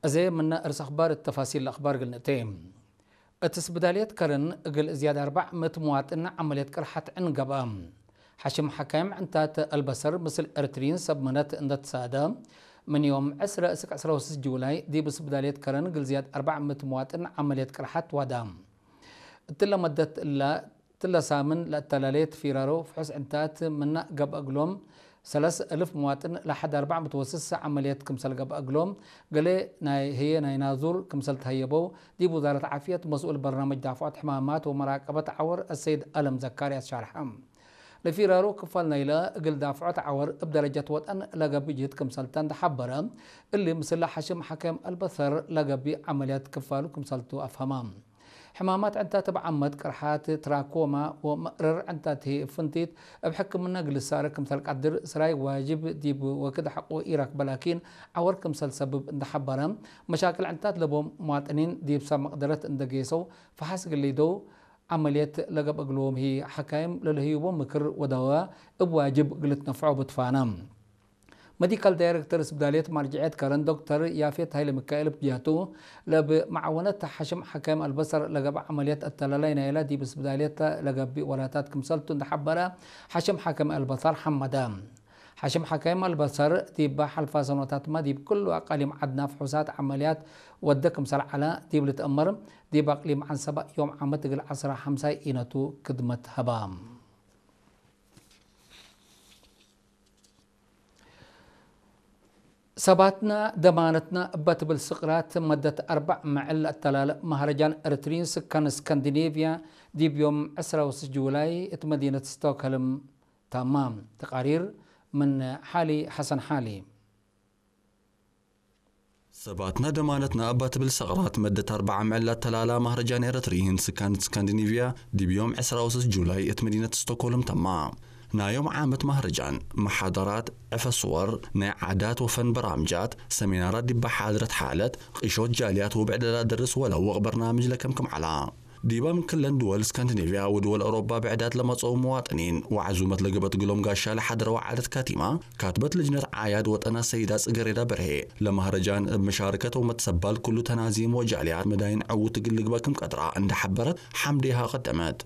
እዚ ምነ እርስ ኣኽባር ተፋሲል ኣኽባር ግልንእቲ። እቲ ስብዳልየት ከረን እግል ዝያድ ኣርባዕ ምት መዋጥን ዓመልየት ቅርሓት ዕን ገብኣ። ሓሽም ሓካይም ዕንታት ኣልበሰር ምስል ኤርትሪን ሰብ ምነት እንደተሳደ ምን ዮም ዕስረ እስክ ዕስራ ወስስ ጁላይ ዲብ ስብዳልየት ከረን እግል ዝያድ ኣርባዕ ምት መዋጥን ዓመልየት ቅርሓት ዋዳ። እትለ መደት እላ ትለ ሳምን ለእተላለየት ፊራሮ ፍሑስ ዕንታት ምና ገብአ እግሎም ሰለስ እልፍ መዋጥን ለሓድ ኣርባዕ ምት ወስስ ዓመልየት ክምሰል ገብአ እግሎም ገሌ ናይ ህየ ናይ ናዙር ክምሰል ተሀየበው ዲብ ውዛረት ዓፍየት መስኡል በርናመጅ ዳፍዖት ሕማማት ወመራቀበት ዓወር አሰይድ አለም ዘካርያስ ሻርሐ። ለፊራሮ ክፋል ናይለ እግል ዳፍዖት ዓወር እብ ደረጀት ወጠን ለገብእ ጅህድ ክምሰልተ እንደሓበረ እሊ ምስለ ሓሽም ሓከም አልበሰር ለገብእ ዓመልያት ክፋሉ ክምሰልቱ አፍሀማ። ሕማማት ዕንታት እብ ዓመት ቅርሓት ትራኮማ ወመእረር ዕንታት ህይ እብ ፍንቲት እብ ሕክምና ግልሳረ ክምሰል ቀድር ስራይ ዋጅብ ዲብ ወክድ ሐቆ ኢረክበ ላኪን ዓወር ክምሰል ሰብብ እንደሓበረ መሻክል ዕንታት ለቦም መዋጥኒን ዲብ ሰብ መቅደረት እንደጌሰው ፈሓስ ግሊደው ዓመልየት ለገብ እግልዎም ህይ ሓካይም ለልህይቦም ምክር ወዳዋ እብ ዋጅብ ግልትነፍዖ ብትፋና። መዲካል ዳይሬክተር ስብዳልየት ማርጅዕየት ከረን ዶክተር ያፌት ሃይለ ሚካኤል ብጅያቱ ለብ መዓወነት ሓሽም ሓካይም አልበሰር ለገብ ዓመልየት አተላላይ ናይላ ዲብ ስብዳልየት ለገቢእ ወላታት ክምሰልቱ እንደሓበረ ሓሽም ሓካይም አልበሰር ሓመደ። ሓሽም ሓካይም አልበሰር ዲብ ሓልፋ ሰኖታትማ ዲብ ኩሉ አቃሊም ዓድና ፍሑሳት ዓመልያት ወደ ክምሰል ዓላ ዲብ ልትአመር ዲብ አቅሊም ዓንሰባ ዮም ዓመት እግል ዓስራ ሓምሳይ ኢነቱ ክድመት ሀባ። ሰባትና ደማነትና እበ ትብል ስቕራት መደት ኣርባዕ መዕል ኣተላለእ ማህረጃን ኤርትሪን ስካን ስካንዲኔቭያ ዲብ ዮም ዕስራ ወስስ ጁላይ እት መዲነት ስቶክሆልም ታማ። ተቃሪር ምን ሓሊ ሓሰን ሓሊ። ሰባትና ደማነትና እባ ትብል ሰቕራት መደት ኣርባዓ ምዕላት ተላላ ማህረጃን ኤረትሪን ስካን ስካንዲኒቪያ ዲብ ዮም ዕስራ ወስስ ጁላይ እት መዲነት ስቶኮልም ተማ። ናዮም ዓመት ማህረጃን መሓደራት ዕፈስወር ናይ ዓዳት ወፈን በራምጃት ሰሚናራት ዲባ ሓድረት ሓለት ቂሾት ጃልያት ወብዕደላ ደርስ ወለውቕ በርናምጅ ለከምክም ዓላ። ዲባ ምን ክለን ድወል ስካንዲኔቪያ ወድወል ኣውሮባ ብዕዳት ለመጸኡ መዋጥኒን ወዓዙመት ለገበት ግሎም ጋሻ ለሓደረዋ ዓደት ካቲማ፣ ካትበት ልጅነት ዓያድ ወጠና ሰይዳ ጽገሬዳ በርሄ፣ ለማህረጃን እብ መሻርከት ወመትሰባል ኩሉ ተናዚም ወጃልያት መዳይን ዕውት እግል ልግበ ክም ቀድራ እንደ ሐበረት ሓምዴሃ ቀደመት።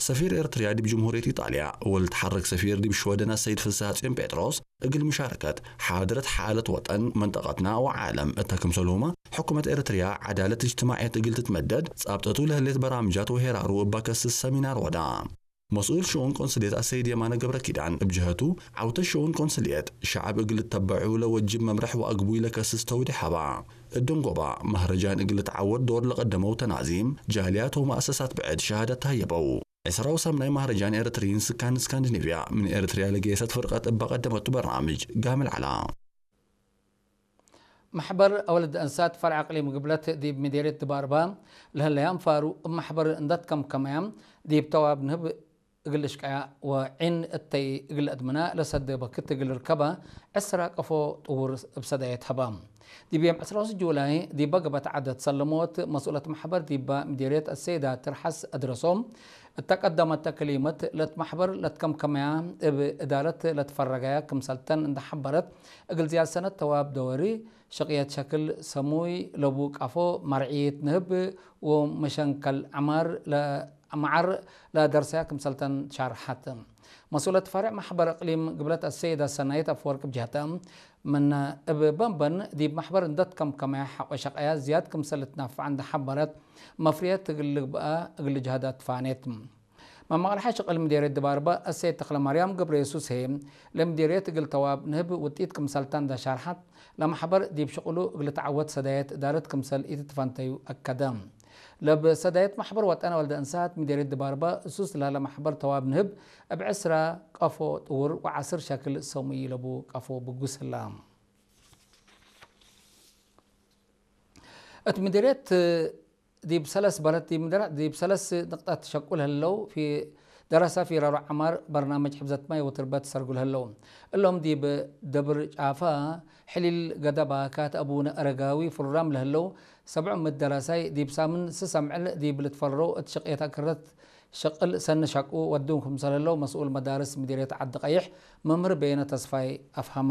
ሰፊር ኤርትርያ ዲብ ጅምሁርየት ኢጣልያ ወልትሓረክ ሰፊር ዲብ ሽወደን ኣሰይድ ፍስሃጽዮን ጴጥሮስ፣ እግል ምሻረከት ሓድረት ሓለት ወጠን መንጠቀትና ወዓለም እተ ክምሰልሁማ፣ ሕኩመት ኤርትርያ ዓዳለት እጅትማዕየት እግል ትትመደድ፣ ጻብጠቱ ለህሌት በራምጃት ወሄራሩ እባ ከስስ ሰሚናር ወዳ። መስኡል ሽኡን ቆንስልየት ኣሰይድ የማነ ገብረ ኪዳን እብ ጀሀቱ፣ ዓውተ ሽኡን ቆንስልየት ሸዓብ እግል ልተበዑ ለወጅብ መምርሕ ወአግቡይ ለከስስ ተውዲ ሐባ። እደንጎባ፣ ማህረጃን እግል ልትዓወድ ዶር ለቀደመው ተናዚም፣ ጃልያት ወመአሰሳት ብዕድ ሸሃደት ተሃየበው። ዕስራ ወሳምናይ ማህረጃን ኤረትሪን ስካን ስካንዲኔቪያ ምን ኤረትርያ ለገየሰት ፍርቀት እባ ቀደመቱ በርናምጅ ጋምል ዓላ። ማሕበር አወልድ እንሳት ፈርዕ አቅሊም ግብለት ዲብ ሚዴርየት ድባርባ ለህለያ እንፋሩ እብ ማሕበር እንዳትከምከመያ ዲብ ተዋብ ንህብ እግል እሽቀያ ወዒን እተይ እግል አድምና ለሰደ በክት እግል ርከባ ዕስራ ቀፎ ጥውር እብ ሰዳየት ሀባ። ዲብ ዮም ዕስራ ወስስ ጁላይ ዲባ ገበት ዓደት ሰለሞት መስኡለት ማሕበር ዲባ ሚዴርየት አሰይዳ ትርሓስ አድረሶም እተ ቀደመተ ክሊመት ለትማሕበር ለትከምከመያ እብ እዳረት ለትፈረገያ ክምሰልተን እንደሓበረት፣ እግል ዝያድ ሰነት ተዋብ ደወሪ ሸቅየት ሸክል ሰሙይ ለቡ ቃፎ ማርዒት ንህብ ወመሸንከል ዐማር ለ-፣ መዓር ለደርሰያ ክምሰልተን ሻርሓት። መስኡለት ፈርዕ ማሕበር እቅሊም ግብለት አሰይዳ ሰናይት አፈወርቅ ብጅህተ፣ ምን እብ በንበን ዲብ ማሕበር እንደትከምከመያ ሐቆ ሸቀያ ዝያድ ክምሰል ልትናፈዓ እንደሓበረት፣ መፍርየት እግል ልግብአ እግል ጅሃዳት ፋኔት። መማቕልሓ ሽቕል ምዴርየት ድባርባ እሴት ተኽለማርያም ገብረየሱስ ህዬ፣ ለምዴርየት እግል ተዋብ ንህብ ውጢት ክምሰልታ እንዳሻርሓት፣ ለማሕበር ዲብ ሽቕሉ እግል ተዓወት ሰዳየት እዳረት ክምሰል ኢትትፈንተዩ አከደ። ለብ ሰዳየት ማሕበር ወጠን ወልደ እንሳት ምዴርየት ድባርባ እሱስ ላለ ማሕበር ተዋብ ንህብ እብ ዕስራ ቀፎ ጥውር ወዓስር ሸክል ሰሙይ ለቡ ቀፎ ብጉስ ህላ። እት ምዴርየት ዲብ ሰለስ በረት ዲብ ምድራ ዲብ ሰለስ ንቅጣት ሸቁል ህለው፣ ፊ ደረሳ ፊራሮ ዐማር በርናመጅ ሕብዘት ማይ ወትርበት ሰርጉል ህለው። እሎም ዲብ ደብር ጫፋ ሕሊል ገደባ ካት አቡነ አረጋዊ ፍሩራም ለህለው ሰብዑ ምት ደራሳይ ዲብ ሳምን ስሰምዕል ዲብ ልትፈረው እት ሽቅየት አክረት ሽቅል ሰኒ ሸቁ ወዱም ክምሰል ህለው መስኡል መዳርስ ምዲርየት ዓዲ ቀይሕ መምህር በየነ ተስፋይ አፍሃማ።